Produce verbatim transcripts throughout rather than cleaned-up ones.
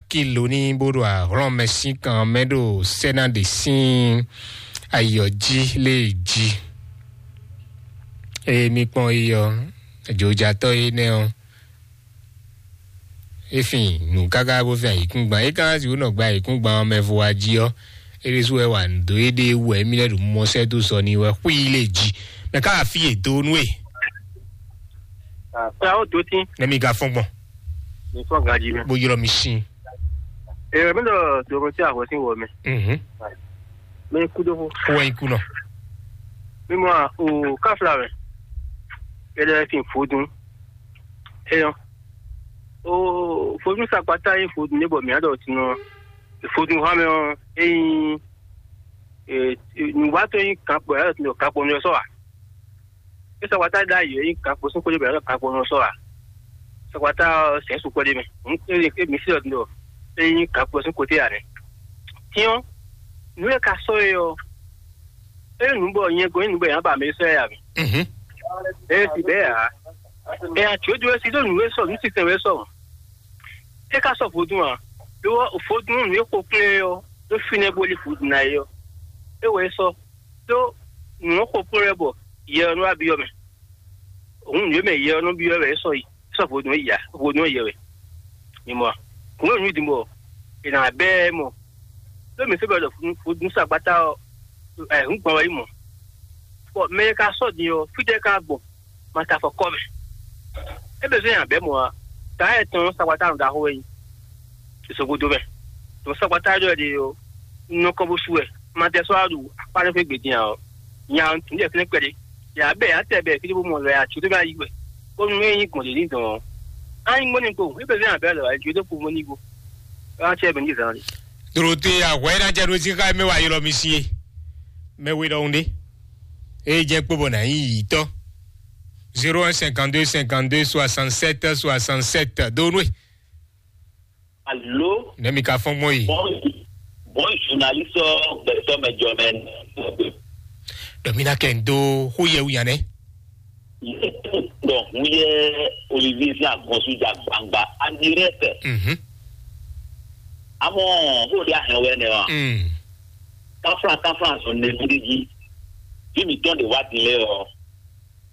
kilo ní bó ɖo ahlɔ́nmɛ sín kan mɛ ɖo sɛ́ná ɖě sín ayɔ jí lé jí. Eye mi kpɔn yi ɔ́, jǒjatɔ́ énɛ́ ɔ́, é fin nǔ káká bó fin ayǐkúngban. É ka ná sixú nɔ gba ayǐkúngban ɔ́ mɛ vo wá jí ɔ́, é ɖésú wɛ wa nǔ dó éɖée wú wɛ émí lɛ́ɛ ɖo mɔ sɛ́ dó sɔ n'i wɛ xwí lé jí. Mɛ ká wá fí e dó nú e. Kpɛ́ ó dó tín. Nɛ mi ka fɔ́n gbɔn. Mi fɔ́n ganjí mɛ. Bó ylɔ́ mi sín. Èrè mi ɖɔ dorothée ahwɛ sín wɔ mɛ. Mhm. Mɛ kú dó fó. Kó wɛ ikú nɔ. Mi mɔ o káfla mɛ. Kɛdɛ fin fodun. Eyɔn. O fodun sakpata yi fodun ne bɔ mi adɔ tinɔ. Fodun hã mɛ ɔ eyi nùwátɔ yi kan kpɔ yàrá tinɔ kan kpɔ nɔ sɔ wa. E sɔgbata ɖ'ayǐ e nyí gǎnkpo sín xwé ɖé mɛ, ɖɔ gǎnkpo nɔ sɔ́ ǎ. Sɔgbata ɔ́, sɛ̌n sukpɔ́ ɖé mɛ. Hǔn, é, é, mǐ sí ɖɔ din ɖɔ é nyí gǎnkpo sín koté ǎ nɛ́. Cyɔ́n, nǔ e ka sɔ́ é ɔ́, é nyí nǔ bɔ nyɛ gɔ́n nyí nǔ bɔ è nǎ ba mɛ e sɔ́ ɛ ǎ mɛ. Mhm. É si bɛ́ ǎ. Ɛ ǎ, jǒjó é sí ɖó nǔ e sɔ, nǔ sinsɛn wɛ é sɔ mɔ̌. É ka sɔ́ vodún ǎ. Lo ɔ́, vodún nǔ e xo kplé é ɔ́, ɖó fínɛ́ bó lí vodún ná é ɔ́, é wɛ é sɔ́. Ɖó nǔ ɔ́ xo kplɔ́n wɛ bɔ yɛ ɔ́ nɔ wá byɔ́ mɛ. Hǔn nǔ e mɛ yɛ ɔ́ nɔ byɔ́ wɛ é sɔ́ yi, é sɔ́ vodún é yi ǎ, vodún é yɛ wɛ. Mi mɔ a? Hǔn e nǔ din bɔ è nǎ bɛ́ ɛ mɔ. Ɖó mǐ sɔ́ bɛ ɖɔ vodún sagbata ɔ́, ɛ hǔn gbɔn wɛ é mɔ. Bɔ mɛ e ka sɔ́ din ɔ́, fítɛ́ ka gbɔn? Ma ta afɔ kɔ mɛ. É bɛ zɔ́n nyi abɛ̌ mɔ̌ ǎ. Taá yɛ tɔn sagbata nɔ ɖaxó wɛ nyí. Zogodo mɛ. Tɔn sagbata ɖɔ ɖe ɔ́, un nɔ kɔ bó su wɛ. Ma tɛ sɔ́ wá ɖu akpá ɖé xwé gbe din ǎ ɔ́, nya ɔ́, un tunwun ɖɛ fínɛ́ kpɛɖé. Yě wá bɛ yě wá tɛ bɛ fí ɖé bó mɔ lɔ yě ǎ, có ɖó ná yí wɛ. Bónú é nyí gbɔn ɖě ní dɔn ɔ́, á nyí mɔ́ n'i kpo, é bɛ zɔ́n nyi abɛ̌ lɔ ǎ, jǒ dó kpo mɔ n'i kpo. É wá tɛ bɛ ní zǎn ɖe. Dorothée, ahwɛ ná jɛ ɖó sí xá mɛ wá ylɔ́ mi sí é. Mɛ we ɖɔhun ɖé. Eye jɛ kpo bɔ nà nyí yǐtɔ. Zéro un cinquante deux cinquante deux soixante sept soixante sept. Donwe. Alo. Nɛ mi ka fɔn gbɔn yi. Bon, bon, journaliste gbɛtɔ mɛ jɔ mɛ. Dɔmina kɛ n do xó yɛ wu yan nɛ. Donc, mu yɛ Olivier sin agɔnsu ja gbangba en direct. Mhm. Amɔ, xó ɖe ahɛn wɛ nɛ wa. Mm. Kafla, kafla zɔn ne mi ɖe jí. Fi mi tɔn de wa din lɛ ɔ.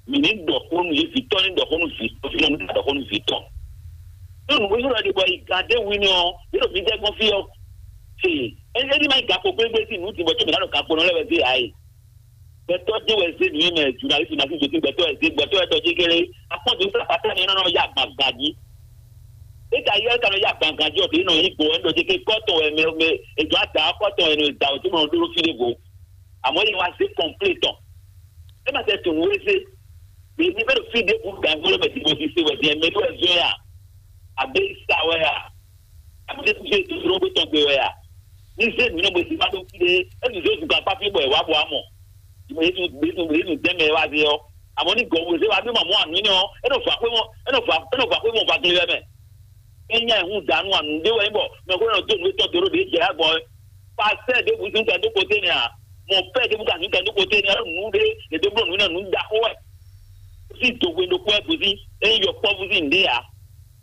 Mi ni ɖɔ xó nu ye vitɔ ni ɖɔ xó nu vitɔ fi ni ɖɔ xó nu vitɔ. Tó nu wéyɔ́ ɖe bɔ yi gade wi ni ɔ, yɛ ɖo mi dɛ gbɔn fi ɔ. Fi, e, e ni ma yi gakpo gbegbe si nu ti bɔ tó mi na ɖo gakpo nɔ lɛ wɛ de ayi. Gbɛtɔ de wɛ ze nu mɛ, journaliste ma si joti gbɛtɔ wɛ ze, gbɛtɔ wɛ tɔ ji kele. Akpɔ de sa pata ni nɔ ya gbagba ji. E ka yɛ ka nɔ ya gbagba ji ɔ, de nɔ yi gbo wɛ nɔ ji ke kɔtɔ wɛ mɛ, mɛ, e jɔ ada kɔtɔ wɛ nɔ da o tó nɔ ɖo fi de go. Àmọ́ yìí wá sí kọ̀ǹplétọ̀. Ẹ má tẹ tòun wé sí. Èyí bẹ́ẹ̀ fi dé bu gàngó lọ́mọ tí mo ti ṣe wẹ̀ díẹ̀ mẹ́tọ́ ẹ̀ zọ́ yà. Àbí ìsà wẹ̀ yà. Àbí tẹ́ fi ṣe ìdúró pé tán gbé wẹ̀ yà. Ní sẹ́yìn mi náà mo ti bá tó fi dé. Ẹ ti sọ ìdúgba pápí bọ̀ ẹ̀ wá bọ̀ á mọ̀. Ìmọ̀ yìí tún gbé tún gbé tún tẹ́mẹ̀ wá sí ọ. Àmọ́ ní gọ̀wé ṣé wàá bí màmú àmì náà. Ẹ náà fà pé wọ́n, ẹ náà fà, ẹ náà fà pé wọ́n fa kiri lẹ́mẹ̀. Enya ehun danu anu ɖe wɛ nyí bɔ mɛ ko nɔ do nu etɔn do ɖo ɖe jɛ agbɔ. Pasɛ ɖe bu sin kɛ do kote nɛ a, mɔ fɛ ɖe bu ka sin kɛ do kote nɛ a, nu ɖe ɖe do blo nu nɛ nu da xo wɛ. Si do hwe ɖo kpɛ bu sin, e yɔ kpɔ bu sin ɖe a.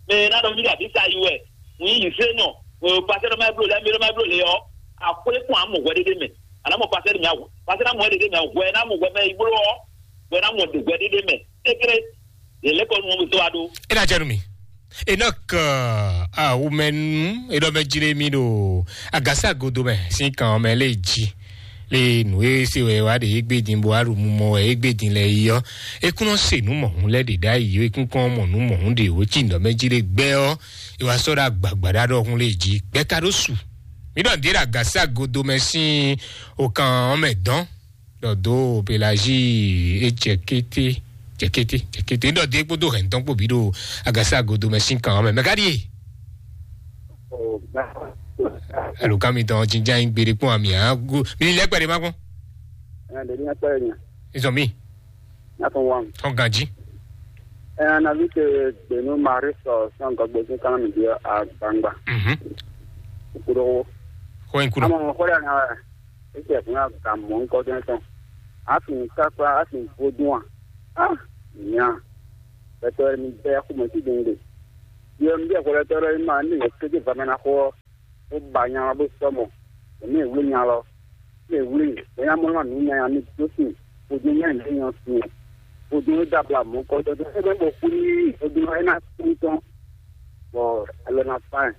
Mɛ na ɖɔ mi ɖe abi sa yi wɛ, nu yi se nɔ. Pasɛ ɖɔ ma blo lɛ, mi ɖɔ ma blo lɛ ɔ, a xwle kpɔn a mɔ hwɛ ɖe ɖe mɛ. Ana mɔ pasɛ ɖe mi awɔ, pasɛ na mɔ hwɛ ɖe ɖe mɛ, hwɛ na mɔ hwɛ mɛ yi blo ɔ, hwɛ na mɔ hwɛ ɖe ɖe mɛ. Sekre, yɛ lɛ kɔ nu mɔ mi to wa ɖo. E na jɛ nu mi. Enoch, uh, Awumɛnu, e ɖɔ mɛ jlé mì ɖo agasa godo mɛ sín kan mɛ lé jí. Le nǔ e se wɛ wá ɖe égbé din bó aɖu mumɔ wɛ égbé din lɛ yi ɔ́, e kún nɔ se nǔ mɔ̌hun lɛ ɖe ɖ'ayǐ, e kún kɔn mɔ nǔ mɔ̌hun ɖe wǒ cí nǔ ɖɔ mɛ jlé gbɛ ɔ́, e wá sɔ́ ɖo agbagba ɖa ɖɔhun lé jí. Gbɛ ka ɖó su. Mì ɖɔ nǔɖé ɖo agasa godo mɛ sín okan ɔ́ mɛ dɔn. Ɖɔ dó Pelagie e jɛ kété, jɛ kété, jɛ kété. Ɖɔ dé kpódó hɛn tɔn kpó bí ɖo agasa godo mɛ sín kan mɛ. Mɛ ka ɖíe? Alo kan mi tɔn jinjan yi gbeɖe kpɔn ami ago. Mi ni lɛ kpɛɖe ma kpɔn. Ɛn, ɖe ní akpɛrɛ nya. Izɔn mi. N'a fɔ wam. Tɔn ganji. Ɛn, na vi ke gbenu Marie sɔ sɔn gɔgbe sin kan mi di agbangba. Mhm. Kudo. Ko in kudo. Amɔ xɔ ya na. Etsɛ fún aga mɔ ŋkɔ jɛn tɔn. Afi ŋka kpla afi vodún a? Ah, nya. Bɛtɔ mi bɛ xɔmɛ ti dun de. Yɛ mi bɛ xɔlɛtɔ ɖɔ ma ne yɛ kéde va mɛ na xɔ. bó ba nya ɔ́ bó sɔ́ mɔ, bɔ mì e wlí nya lɔ, mì e wlí, bɔ nya mɔ nú nú nya nya mì dó sin, vodún nya lě nyɔ sin, vodún e dó abla mɔ̌ kɔ dɔdɔ é bɛ bɔ kú ní vodún ɔ́ é ná kú tɔn, bɔ alɔ ná fá ɛ,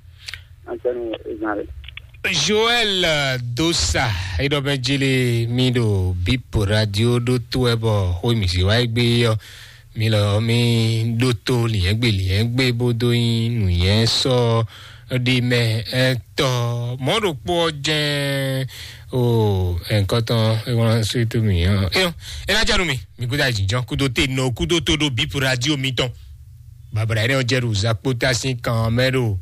ná tɛnu é ná lɛ. Joël, eh, Dosa, eɖɔ mɛ jele mi ɖo Bip Radio ɖó tó ɛ bɔ xó mi zé wá gbé ɔ́, mi lɔ mi ɖó tó liɛ́ngbé liɛ́ngbé bó dó nyí nǔnyɛ sɔ ɖi mɛ ɛtɔ mɔ̌ ɖokpó ɔ́ jɛ́n o ɛnkɔtɔn ewɔn swetu mi ɔ́. Eyɔn, ena janu mi, mi kúta jijɔ kúdo te nɔ kúdo tó ɖo Bip Radio mi tɔn. Babla yɛrɛ ɔ́ jɛ ɖo zakpota sín kan ɔ́ mɛ ɖo,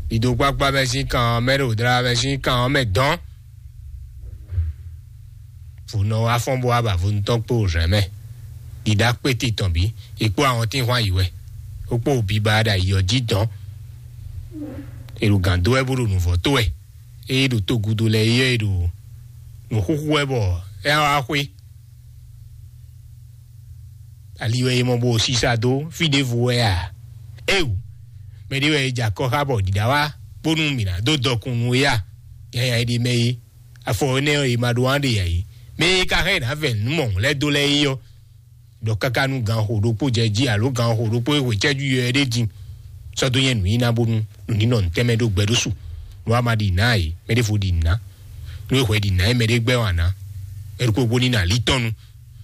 ɖiɖogbagba mɛ sín kan ɔ́ mɛ ɖo, dra mɛ sín kan ɔ́ mɛ dɔn. Vunɔ wá fɔ́n bó wá ba vodúntɔ́ kpó zɛ̌n mɛ. Ɖiɖa kpéte tɔn bí, è kpó ahɔntínhwan yi wɛ, ó kpó biba ɖo ayǐ ɔ́ jí dɔn. È ɖo gǎn dó wɛ bó ɖo nǔvɔ́ tó wɛ. Ée ɖo togudo lɛ́ɛ é ɔ́, è ɖo nǔxúxú wɛ bɔ é wá xwé. Ali wɛ è mɔ bó sisa dó fí ɖěvo wɛ a? Éwu, mɛ ɖé wɛ è jɛ akɔ xá bɔ ɖiɖa wá bónú mǐ ná dó dɔkun nú é a? Nyanya è ɖe mɛ é, afɔ énɛ́ ɔ́ è ma ɖó wán ɖe ǎ é. Mɛ e ka hɛn è nǎ vɛ nǔ mɔ̌hun lɛ́ɛ dó lɛ́ɛ é ɔ́, ɖɔ káká nú gan xo ɖokpó jɛ jí alo gan xo ɖokpó e hwe cɛ́jú yɔ ɛ ɖé din, sɔ́ dó nyɛ nǔ nyiná bónú nǔ ní nɔ nǔtɛ́ mɛ ɖó gbɛ ɖó su. Nú a ma ɖi nǎ é, mɛ ɖěvo ɖi nǔ ná. Nú é hwɛ ɖi nǎ é, mɛ ɖé gbɛ́ wǎn ná. Mɛ ɖokpó gbó ní nɔ ali tɔn nu.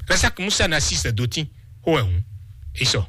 Rasak Musa ná sí sɛ̌dótín, xó wɛ hǔn, é sɔ.